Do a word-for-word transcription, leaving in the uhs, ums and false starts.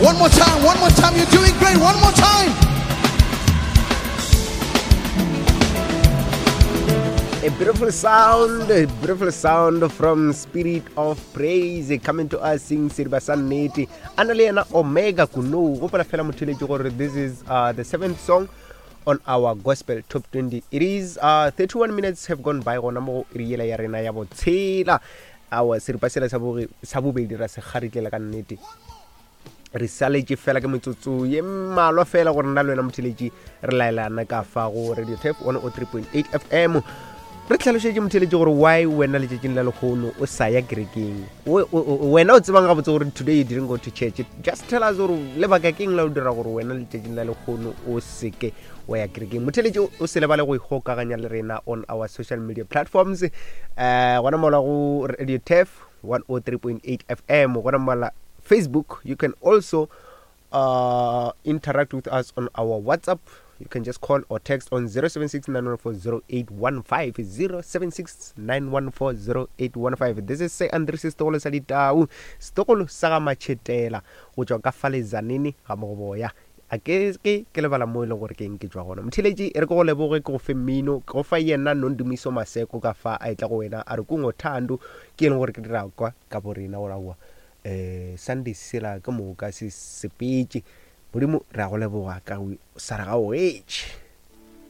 One more time, one more time. You're doing great. One more time. A beautiful sound, a beautiful sound from Spirit of Praise coming to us sing Seriba sa nnete. A na le yena Omega Kunou. Gopola fela motheletši gore this is uh, the seventh song on our gospel top twenty. It is uh, thirty-one minutes have gone by gona mo go iri yela ya rena ya botshela. Awa seripa sela sa boge- sa bobedi ra se kgaritlela ka nnete. Re saletše fela ke metsotso ye mmalwa fela gore nna le wena motheletši re laelana ka fa go Radio Tap one oh three point eight F M. Re tlhalošetše motheletši gore why wena letšatšing la lekgono o sa ya kerekeng. O, o, o, wena o tsebang gabotse gore today you didn't go to church. Just tell us gore lebaka keng la o dira gore wena letšatšing la lekgono o seke wa ya kerekeng. Motheletši o se lebale go ikgokaganya le rena on our social media platforms. Eh, gona mola go Radio Tap one oh three point eight F M, gona mola Facebook. You can also, uh, interact with us on our WhatsApp. You can just call or text on zero seven six nine one four zero eight one five, zero seven six nine one four zero eight one five. This is Se Andres Setogolo sa Ditau, Setogolo sa ga Matšhetela, go tšwa ka fale Tzaneen ga Mogoboya. A ke ke ke lebala mo e leng gore ke eng ke tšwa gona. Motheletši, e re ke go leboge, ke go fe mmino, ke go fa yena Nondumiso Maseko ka fa a etla go wena, a re kungothando, ke e leng gore ke dira kwa ka bo rena gore aowa, eh, Sunday sela ke moka se sepetše. Modimo re a go leboga ka go sa re ga o etše.